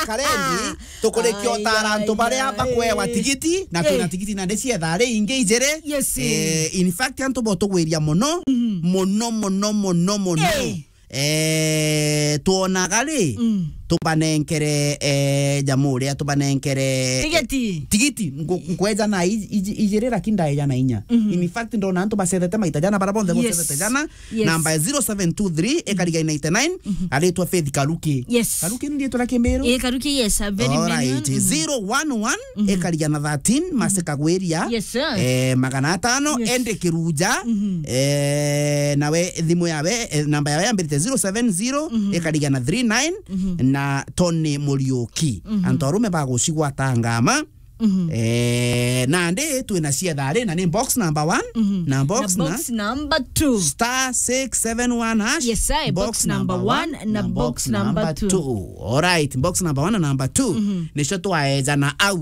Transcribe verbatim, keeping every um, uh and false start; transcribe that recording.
Karendi, tukurikia utara antu baria bakwewa tigiti, na twina tigiti na ndicietha ari ingi ijiri. Yes. Eh, in fact, antu botugwiria muno, muno, muno, muno, muno. Eh. Eh, twonaga ri, tubanenkere, eh, jamu uria, tubanenkere, eh, tigiti. Tigiti, nku-, nkweja na i-, iji-, ijiri, lakini ndaeja na inya. In fact, ndona antu bacethete maita jana, bara bonthe bocethete jana, Yes. Namba ya zero seven two three, ikariga ninety nine, aritwa Faith Karuki. Yes. Karuki ni riitwa ria Kimiru? Eh, Karuki, yes, a very All right. Zero one one, ikariga na thirteen, Masika Gwiria. Yes, sir. Eh, magana atano, Yes. Endi Kiruja. Eh, nawe thimu yawe, eh, namba yawe yambirite zero seven zero, ikariga na three nine, na Tony Muriuki. Antu arume bagucigwata ngama. Eh, nandi twina cietha ri, na ni box number one, na box Na na box number two. Star six seven one hash. Yes, sir. Box number one na box number two. All right, box number one na number two. Nicio twaejana au.